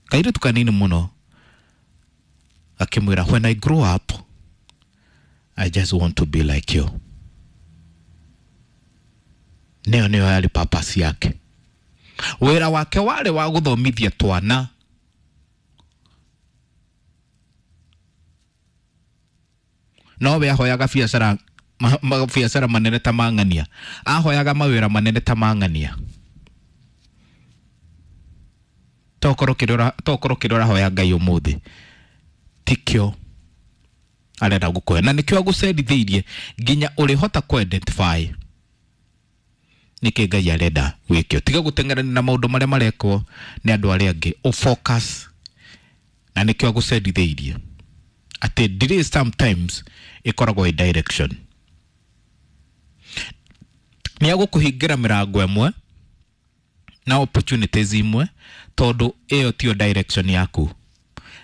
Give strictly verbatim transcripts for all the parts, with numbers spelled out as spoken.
Kairĩtu kanini mũno akĩmwĩra, "When I grow up, I just want to be like you." Nĩyo nĩyo yarĩ purpose yake. Wĩra wake warĩ wa gũthomithia twana. No we ahoyaga biacara, mabiacara manene ta mang'ania, ahoyaga mawĩra manene ta mang'ania. Tokorwo kĩrĩa, tokorwo kĩrĩa ũrahoya Ngai ũmũthĩ tikĩo arenda gũkũhe, na nĩkĩo agũcerithĩirie nginya ũrĩhota kũ identify nĩkĩ Ngai arenda wĩke. Tiga gũteng'erania na maũndũ marĩa marekwo nĩ andũ arĩa angĩ, ũ focus, na nĩkĩo agũcerithĩirie atĩ delay sometimes ĩkoragwo ĩ direction. Nĩ agũkũhingĩra mĩrango ĩmwe na opportunities imwe tondũ ĩyo tiyo direction yaku.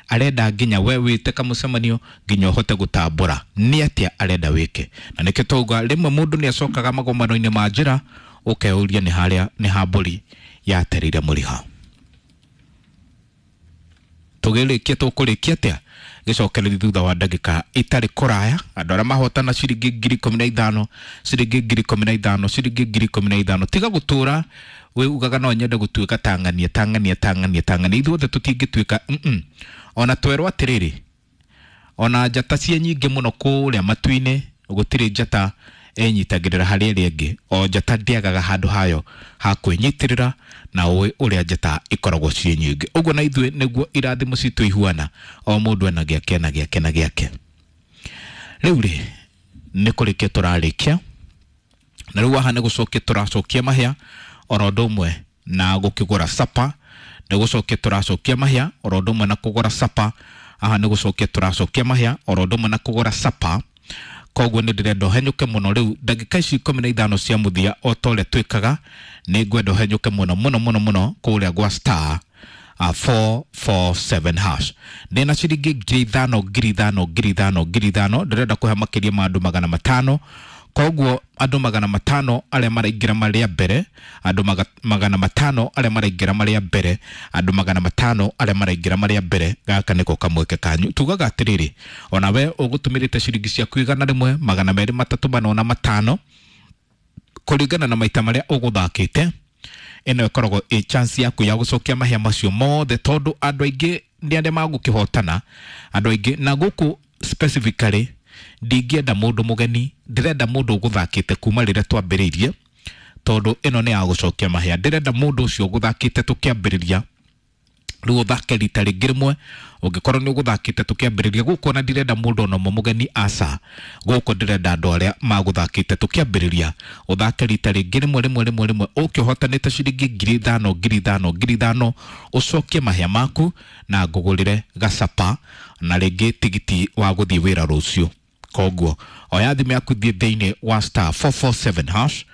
Arenda nginya we wĩte kamũcemanio nginya ũhote gũtambũra nĩ atĩa arenda wĩke. Na nĩkĩo twauga rĩmwe mũndũ nĩ acokaga magomano-inĩ ma njĩra, ũkeyũria nĩ harĩa nĩ ha mbũri yaterire mũriha. Tũgĩrĩkia, tũkũrĩkia atĩa? Gĩcokereria thutha wa ndagĩka itarĩ kũraya. Andũ arĩa mahotana ciringi ngiri ikũmi na ithano, ciringi ngiri ikũmi na ithano, ciringi ngiri ikũmi na ithano. Tiga gũtũra wĩ ugaga no nyende gũtuĩka tang'ania, tang'ania, tang'ania, tang'ania. Ithuothe tũtingĩtuĩka mm -mm. Ona twerwo atĩrĩrĩ, ona njata ciĩ nyingĩ mũno kũrĩa matu-inĩ, gũtirĩ njata ĩnyitagĩrĩra harĩ ĩrĩa ĩngĩ. O njata ndĩagaga handũ hayo ha kwĩnyitĩrĩra, na ũĩ ũrĩa njata ikoragwo ciĩ nyingĩ. Ũguo na ithuĩ nĩguo irathimo citũ ihuana, o mũndũ ena gĩake na gĩake na gĩake. Rĩu rĩ, nĩ kũrĩkia tũrarĩkia, na rĩu haha nĩ gũcokia tũracokia mahĩa oro ũndũ ũmwe na gũkĩgũra sapa. Nĩ gũcokia tũracokia mahĩa oro ũndũ ũmwe na kũgũra sapa. Haha nĩ gũcokia tũracokia mahĩa oro ũndũ ũmwe na kũgũra sapa. Koguo nĩ ndĩrenda ũhenyũke mũno rĩu ndagĩka ici ikũmi na ithano cia mũthia, o ta ũrĩa twĩkaga, nĩ ngwenda ũhenyũke mũno mũno mũno mũno kũrĩa gwa star uh, four four seven hash. Ndĩna ciringi ngiri ithano, ngiri ithano, ngiri ithano, ngiri ithano. Ndĩrenda kũhe makĩria ma andũ magana matano. Koguo andũ magana matano arĩa maraingĩra marĩa mbere, andũ maga, magana matano arĩa maraingĩra marĩa mbere, andũ magana matano arĩa maraingĩra marĩa mbere, gaka nĩko kamweke kanyu. Tugaga atĩrĩrĩ, ona we ũgũtũmĩrĩte ciringi ciaku igana rĩmwe, magana merĩ, matatũ, mana na matano, kũringana na maita marĩa ũgũthakĩte, ĩno ĩkoragwo ĩ chance yaku ya gũcokia mahĩa macio mothe, tondũ andũ aingĩ nĩ arĩa magũkĩhotana, andũ aingĩ na gũkũ specifically ndingĩenda mũndũ mũgeni, ndĩrenda mũndũ ũgũthakĩte kuma rĩrĩa twambĩrĩirie, tondũ ĩno nĩ ya gũcokia mahĩa. Ndĩrenda mũndũ ũcio ũgũthakĩte tũkĩambĩrĩria, rĩu ũthake rita rĩngĩ rĩmwe. Ũngĩkorwo nĩ ũgũthakĩte tũkĩambĩrĩria gũkũ, ona ndirenda mũndũ ona ũmwe mũgeni, aca. Gũkũ ndĩrenda andũ arĩa magũthakĩte tũkĩambĩrĩria, ũthake rita rĩngĩ rĩmwe rĩmwe rĩmwe rĩmwe, ũke ũhotanĩte ciringi ngiri ithano, ngiri ithano, ngiri ithano, ũcokie mahĩa maku na ngũgũrĩre gacapa na rĩngĩ tigiti wa gũthiĩ wĩra rũciũ. Koguo oya thimũ yaku, thiĩ thĩinĩ wa star four four seven hash.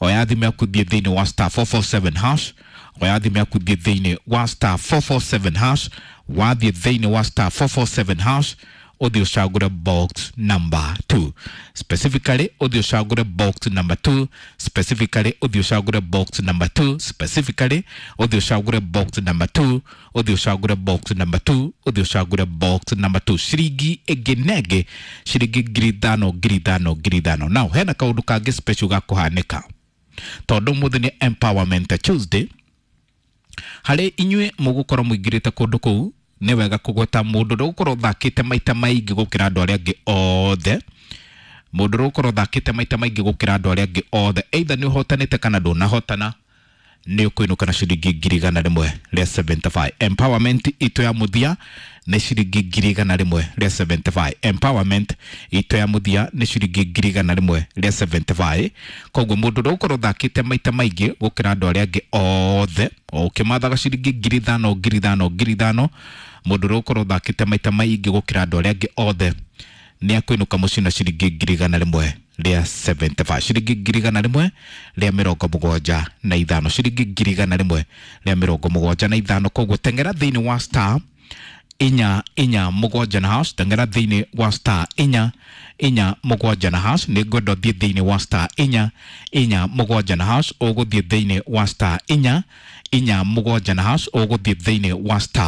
Oya thimũ yaku, thiĩ thĩinĩ wa star four four seven hash. Oya thimũ yaku, thiĩ thĩinĩ wa star four four seven hash. Wathiĩ thĩinĩ wa star four four seven hash, ũthiĩ ũcagũre box number two. Specifically ũthiĩ ũcagũre box number two. Specifically ũthiĩ ũcagũre box number two. Specifically ũthiĩ ũcagũre box number two. Ũthiĩ ũcagũre box number two. Ũthiĩ ũcagũre box number two. Ciringi ĩngĩ na ĩngĩ, ciringi ngiri ithano, ngiri ithano, ngiri ithano. Now hena kaũndũ kangĩ special ga kũhanĩka, tondũ ũmũthĩ nĩ Empowerment Tuesday. Harĩ inyuĩ mũgũkorwo mũingĩrĩte kũndũ kũu, nĩ wega kũgweta mũndũ ũrĩa ũgũkorwo ũthakĩte maita maingĩ gũkĩra andũ arĩa angĩ othe. Mũndũ ũrĩa ũgũkorwo ũthakĩte maita maingĩ gũkĩra andũ arĩa angĩ othe, either nĩ ũhotanĩte kana ndũnahotana, nĩ ũkũinũka na ciringi ngiri igana rĩmwe rĩa seventy five. Empowerment itũ ya mũthia nĩ ciringi ngiri igana rĩmwe rĩa seventy five. Empowerment itũ ya mũthia nĩ ciringi ngiri igana rĩmwe rĩa seventy five. Koguo mũndũ ũrĩa ũgũkorwo ũthakĩte maita maingĩ gũkĩra andũ arĩa angĩ othe, o ũkĩmathaga ciringi ngiri ithano, ngiri ithano, ngiri ithano, mũndũ ũrĩa ũgũkorwo ũthakĩte maita maingĩ gũkĩra andũ arĩa angĩ othe nĩ akũinũka mũciĩ na ciringi ngiri igana rĩmwe rĩa seventy five. Ciringi ngiri igana rĩmwe rĩa mĩrongo mũgwanja na ithano. Ciringi ngiri igana rĩmwe rĩa mĩrongo mũgwanja na ithano. Koguo teng'era thĩinĩ wa star inya inya mũgwanja na hash. Teng'era thĩinĩ wa star inya inya mũgwanja na hash. Nĩ ngwenda ũthiĩ thĩinĩ wa star inya inya mũgwanja na hash. Ũgũthiĩ thĩinĩ wa star inya inya mũgwanja na hash. Ũgũthiĩ thĩinĩ wa star